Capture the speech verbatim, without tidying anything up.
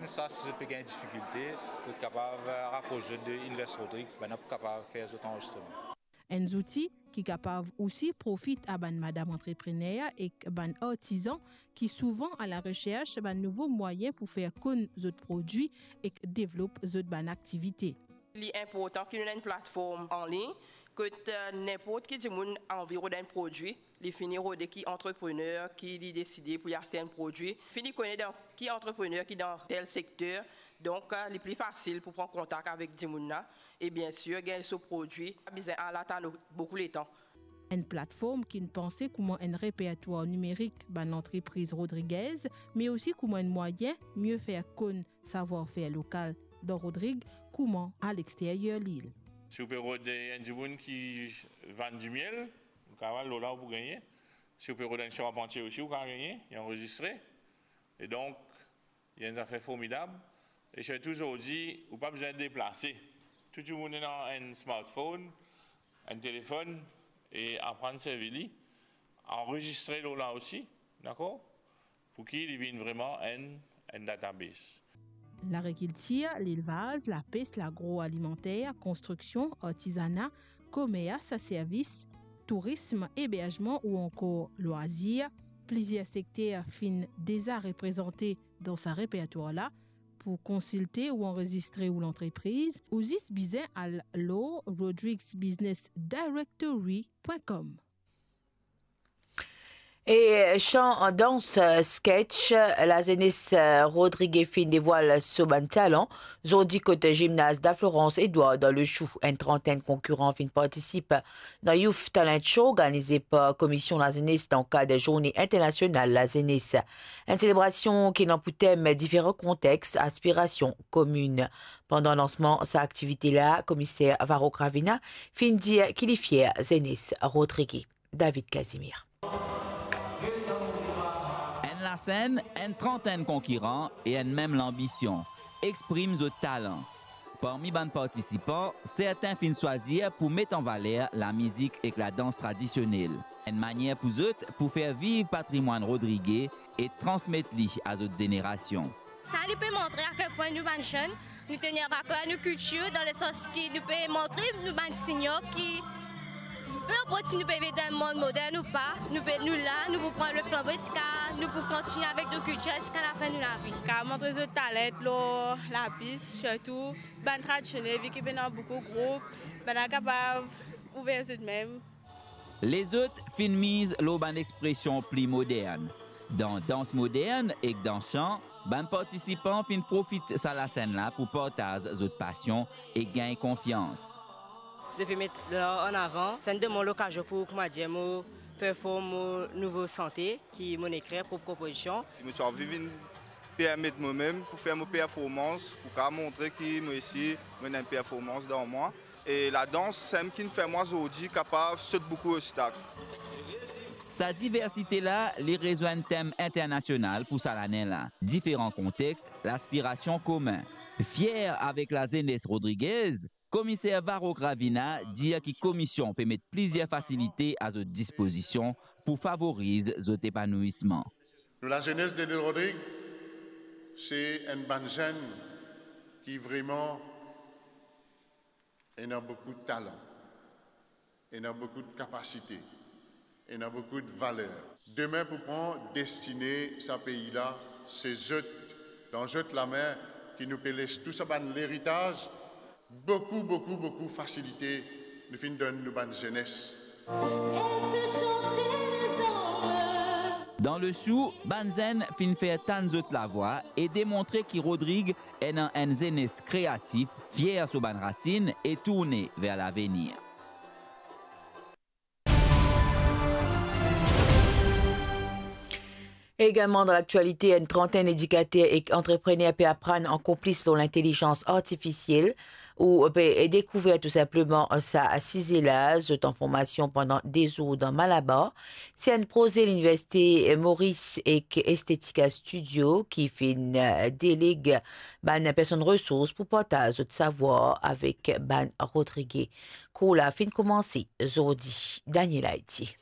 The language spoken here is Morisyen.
Sa, si zot pe gagn difikilte, zot kapav, eh, rapros zot de Universe Rodrigue, bann la pou kapav fer zot anrezistreman. Enn zouti ki kapav osi profit a bann madam antreprener ek bann artizan ki souvan a la resers bann nouvo mwayin pou fer konn zot prodwi ek devlop zot bann aktivite. Li inportan ki nou ena enn platform anlign kot, eh, ninport ki dimoun anvi rod enn prodwi, li fini rode ki antreprener ki li deside pou li aste enn prodwi, fini kone dan ki antreprener ki dan tel sekter, donk, eh, li pli fasil pou pran kontak avek dimoun la e, biensir, gagn so prodwi, pa bizin al atann boukou letan. Enn platform ki'nn panse kouma enn repertwar nimerik bann lantrepriz Rodriguez, me osi kouma enn mwayin mie fer konn savwar-fer lokal dan Rodrig kouma alexteryer lil. Si ou pe rod enn dimoun ki vann dimiel, ou kapav al lor la, ou pou gagne. Si ou pe rod enn sharpantie osi, ou kapav gagne, li anrezistre. E donk, li enn zafer formidab. E sirtou zordi, ou pa bizin deplase. Tou dimoun ena enn smartphone, enn telefonn, e aprann servi li, anrezistre lor la osi, dakor? Pou ki li vinn vreman enn, enn database. Lagrikiltir, lelvaz, lapes, lagroalimanter, konstriksion, artizana, komers, servis, tourism, eberzman ou ankor lwazir, plizier sekter finn deza reprezante dan sa repertwar la. Pou konsilte ou anrezistre ou lantrepriz, ou zis bizin al lor rodrigsbusinessdirectory point com. E san dans, sketch, lazenes Rodrig finn devwal so bann talan. Zordi kot zimnaz La Florence Edouard dan Leshoue, enn trantenn konkiran finn partisip dan Youth Talent Show, organize par Komision Lazenes dan kad Zourne Internasional Lazenes. Enn selebrasion ki ena pou tem diferan kontex, aspirasion komin. Pandan lansman sa aktivite la, Komiser Varro Gravina finn dir ki li fier zenes Rodrig. David Casimir. Enn lasenn, enn trantenn konkiran e enn mem lanbision, exprim zot talan. Parmi bann partisipan, sertin finn swazir pou met an valer lamizik ek ladans tradisionel, enn manier pou zot pou fer viv patrimwann Rodrig e transmet li a zot zenerasion. Sa li pe montre a kel pwin nou bann zenn, nou tenir aker nou kiltir, dan lesans ki nou pe montre nou bann senior ki, pe inport si nou pe viv dan enn mond modern ou pa, nou pe, nou la, nou pou pran le flanbo ziska, nou pou kontinie avek nou kiltir ziska lafin nou lavi. Kapav montre zot talant lor lapis, sirtou bann tradisionel, vi ki pena boukou group, bann la kapav ouver zot mem. Lezot finn miz lor bann expresion pli modern. Dan dans modern ek dan san, bann partisipan finn profit sa lasenn la pou partaz zot pasion e gagn konfians. Depi met lar an avan, sa inn donn mwa lokazion pou, koumadir, mo perform mo nouvo sante ki mo ekrir, prop konpozision. Mo ti anvi vinn permet momem pou fer mo performans, pou kapav montre ki mo osi mo ena enn performans dan mwa. E ladans, sa mem ki'nn fer mwa zordi kapav sot boukou obstak. Sa diversite la, li rezwenn tem internasional pou sa lane la. Diferan kontex, laspirasion komin. Fier avek lazenes Rodrig, Komiser Varro Gravina dir ki komision pe met plizier fasilite a zot dispozision pou favoriz zot epanouisman. Nou lazenes de Lil Rodrig, se enn bann zenn ki vreman ena boukou talan, ena boukou kapasite, ena boukou valer. Demin pou pran destine sa pei la, se zot, dan zot lame ki nou pe les tou sa bann leritaz, boukou, boukou, boukou fasilite nou finn donn nou bann zenes. Dan Leshoue, bann zenn finn fer tann zot lavwa e demontre ki Rodrig ena enn zenes kreatif, fier so bann rasinn e tourne ver lavenir. Egalman dan laktialite, enn trantenn edikater ek antreprener pe aprann ankor plis lor lintelizans artifisiel ou pe dekouver tou sinpleman sa size la. Zot an formasion pandan de zour dan Malabar. Se enn proze Liniversite Maurice ek Estetica Studio ki finn deleg bann personn resours pou partaz zot savwar avek bann Rodrig. Kour la finn koumanse zordi. Daniel Haiti.